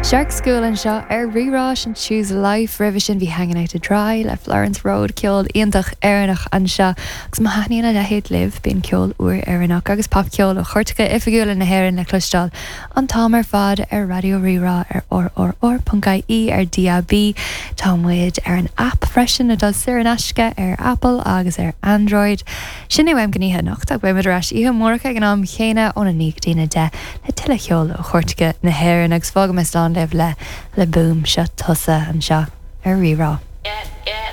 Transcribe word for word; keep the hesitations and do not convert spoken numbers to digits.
Shark School anseo ar Rí-Rá sin Choose Life roimhe sin bhí Hanging Out to Dry le Florence Road ceol iontach Éireannach anseo agus má thaitníonn a leithéid libh bíonn ceol úr Éireannach agus popcheol ó chairteacha oifigiúla na hÉireann le cloisteáil an t-am ar fad ar Raidió Rí-Rá ar rrr.ie ar DAB Tá muid ar an app freisin atá saor in aisce ar Apple agus ar Android. Sin é uaim don oíche anocht ach beimid ar ais oíche amárach ag an am chéanna óna naoi go dtí a deich le tuilleadh ceoil ó chairteacha na hÉireann agus fágfaidh mé slán libh le le Boom seo tusa anseo ar Rí-Rá. Yeah.